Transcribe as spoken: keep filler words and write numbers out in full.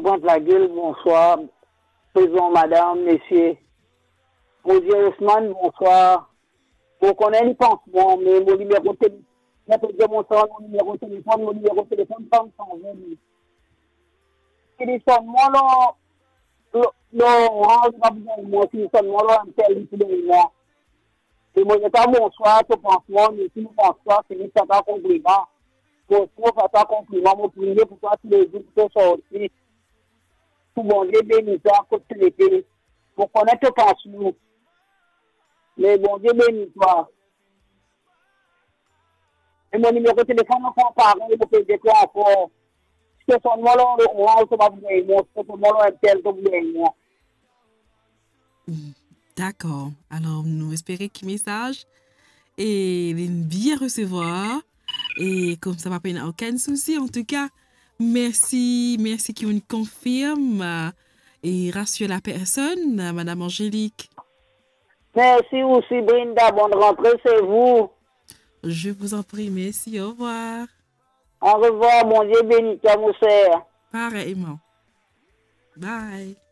Pwint Lagel, bonswar. Prezan, madam, mesie. Mo dir Osman, bonswar. Mo kone li pans mwa, me mo nimero tele-, mo pe dir bonswar, mo nimero telefonn, mo nimero telefonn pa sanze li. Si li sonn mwa lor, lor, lor Orange, pa bizin mwa, si li sonn mwa lor MTL, li pou gagn mwa. E mo dir twa bonswar, to pans mwa, me si mo pans twa, se li sa ta konpliman. Mo si mo pa ta konpliman, mo priye pou twa toulezour pou to sorti. Pou Bondie beni twa kot to ete. Mo kone to pans mwa. Me Bondie beni twa. E mo nimero telefonn ankor parey, mo pe dir twa ankor. Si to sonn mwa lor Orange, to pa pou gagn mwa. Si to sonn mwa lor MTL, to pou gagn mwa. Dakor. Alor, nou espere ki mesaz e li bien resevwar. E koumsa pa pena okenn sousi. Antouka, mersi, mersi ki ou'nn konfirm, euh, e rasir lapersonn, euh, Madam Angélique. Mersi osi, Brinda. Bonne rentrée, c'est vous. Je vous en prie, merci, au revoir. Au revoir, Bondie beni twa, mo ser. Pareyman. Bye.